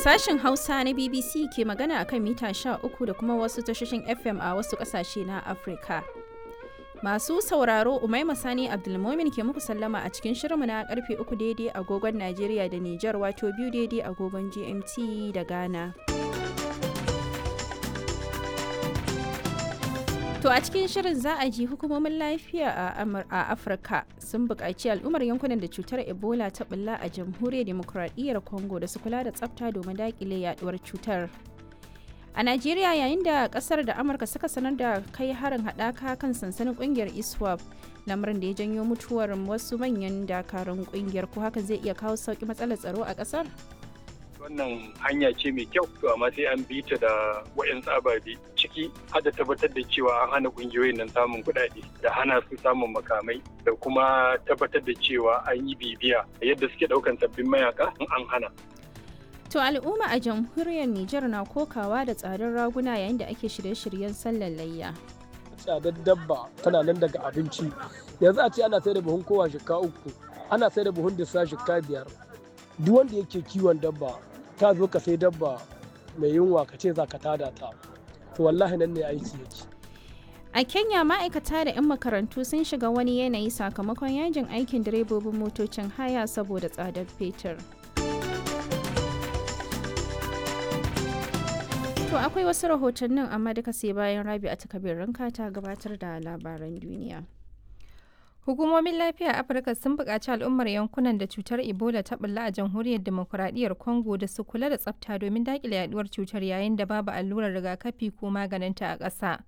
Sashen Hausa na BBC ke magana akan mita 13 da kuma wasu tashoshin FM a wasu ƙasashe na Afirka. Masu sauraro Umaima Sani Abdulmomin ke muku sallama a cikin shirinmu na karfe 3 daidai agogon Najeriya da Nijar, wato biyu daidai agogon GMT da Ghana. To a cikin shirin za a ji hukumomin lafiya a Afirka sun buƙaci al'ummar yankunan da cutar Ebola ta bulla a jamhuriyar demokuraɗiyyar Congo da su kula da tsafta domin daƙile yaduwar cutar. A Najeriya, yayin da kasar da Amurka suka sanar da kai harin haɗaka kan sansanin ƙungiyar ISWAP, lamarin da ya janyo mutuwar wasu manyan dakarun ƙungiyar, ko hakan zai iya kawo sauƙi matsalar tsaro a ƙasar? Wannan hanya ce mai kyau, to amma sai an bi ta da wa'in ababe ciki har da tabbatar da cewa an hana kungiyoyin nan samun kuɗaɗe da hana su samun makamai da kuma tabbatar da cewa an yi bibiya yadda suke ɗaukan sabbin mayaka in an hana. To al'umma a jamhuriyar Nijar na kokawa da tsadar raguna yayin da ake shirye-shiryen sallar layya. Tsadar dabba tana nan daga abinci. Yanzu a ce ana sai da buhun kowa 3,000, ana sai da buhun dissa 5,000. Duk wanda yake kiwon dabba, ta zo ka sai dabba mai yunwa ka ce za ka tada ta. To wallahi nan ne aiki yake. A Kenya, ma'aikata da 'yan makarantu sun shiga wani yanayi sakamakon yajin aikin direbobin motocin haya saboda tsadar fetur. To akwai wasu rahotannin, amma duka sai bayan Rabi a takabirin ta gabatar da labaran duniya. Hukumomin lafiya a Afirka sun buƙaci al'ummar yankunan da cutar Ebola ta bulla a jamhuriyar demokuraɗiyyar Congo da su kula da tsafta domin daƙile yaduwar cutar yayin da babu allurar rigakafi ko maganinta a ƙasa.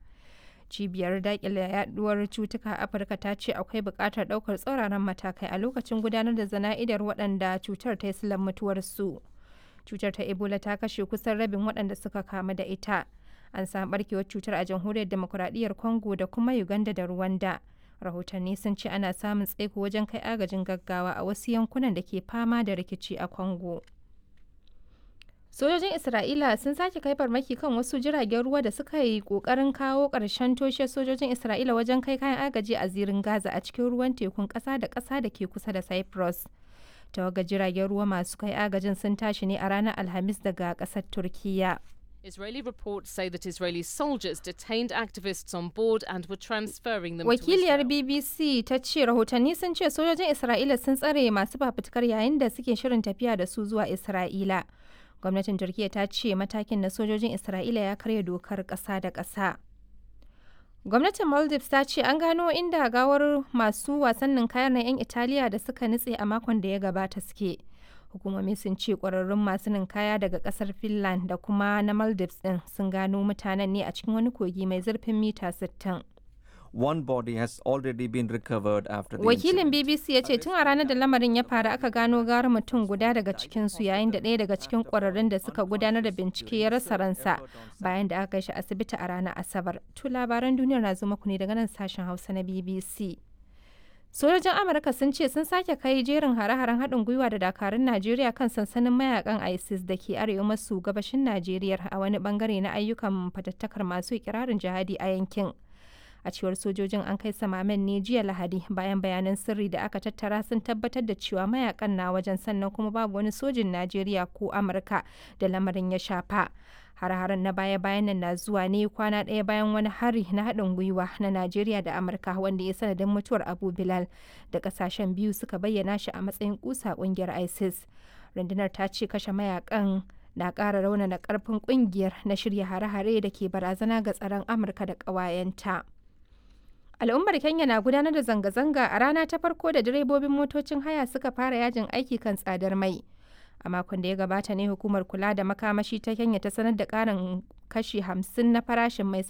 Cibiyar daƙile yaduwar cutuka a Afirka ta ce akwai buƙatar ɗaukar tsauraran matakai a lokacin gudanar da zana'idar waɗanda cutar ta yi silar mutuwarsu. Cutar ta Ebola ta kashe kusan rabin waɗanda suka kamu da ita. An samu ɓarkewar cutar a jamhuriyar demokuraɗiyyar Congo da kuma Uganda da Rwanda. Rahotanni sun ce ana samun tsaiko wajen kai agajin gaggawa a wasu yankunan da ke fama da rikici a Congo. Sojojin Isra'ila sun sake kai farmaki kan wasu jiragen ruwa da suka yi kokarin kawo ƙarshen toshe sojojin Isra'ila wajen kai kayan agaji a zirin Gaza a cikin ruwan tekun ƙasa da ƙasa da ke kusa da Cyprus. Tawagar jiragen ruwa masu kai agajin sun tashi ne a ranar Alhamis daga ƙasar Turkiyya. Israeli reports say that Israeli soldiers detained activists on board and were transferring them Wakiliyar to Israel. BBC ta ce rahotanni sun ce sojojin Isra'ila sun tsare masu fafutukar yayin da suke shirin tafiya da su zuwa Isra'ila. Gwamnatin Turkiyya ta ce matakin na sojojin Isra'ila ya karya dokar ƙasa da ƙasa. Gwamnatin Maldives ta ce an gano inda gawar masu wasannin kayan na 'yan Italiya da suka nutse a makon da ya gabata suke. Hukumomi sun ce kwararrun masu ninkaya daga kasar Finland da kuma na Maldives din sun gano mutanen ne a cikin wani kogi mai zurfin mita 60. One body has already been recovered after the Wakilin incident. BBC ya ce tun a ranar da lamarin ya faru aka gano gara mutum guda daga cikinsu, yayin da ɗaya daga cikin kwararrun da suka gudanar da bincike ya rasa ransa bayan da aka kai shi asibiti a ranar Asabar. To labaran duniyar na zo muku ne daga nan sashen Hausa na BBC. Sojojin Amurka sun ce sun sake kai jerin hare-haren haɗin gwiwa da dakarun Najeriya kan sansanin mayakan ISIS da ke arewa maso gabashin Najeriya a wani bangare na ayyukan fatattakar masu ikirarin jihadi a yankin. A cewar sojojin, an kai samamen ne jiya Lahadi bayan bayanan sirri da aka tattara sun tabbatar da cewa mayakan na wajen, sannan kuma babu wani sojin Najeriya ko Amurka da lamarin ya shafa. Har-haren na baya-bayan nan na zuwa ne kwana ɗaya bayan wani hari na haɗin gwiwa na Najeriya da Amurka wanda ya sanadin mutuwar Abu Bilal da ƙasashen biyu suka bayyana shi a matsayin kusa ƙungiyar ISIS. Rundunar ta ce kashe mayakan na ƙara raunana ƙarfin ƙungiyar na shirya hare-hare da ke barazana ga tsaron Amurka da ƙawayenta. Al'ummar Kenya na gudanar da zanga-zanga a rana ta farko da direbobin motocin haya suka fara yajin aiki kan tsadar mai. A makon da ya gabata ne hukumar kula da makamashi ta Kenya ta sanar da karin kashi 50 na farashin mai.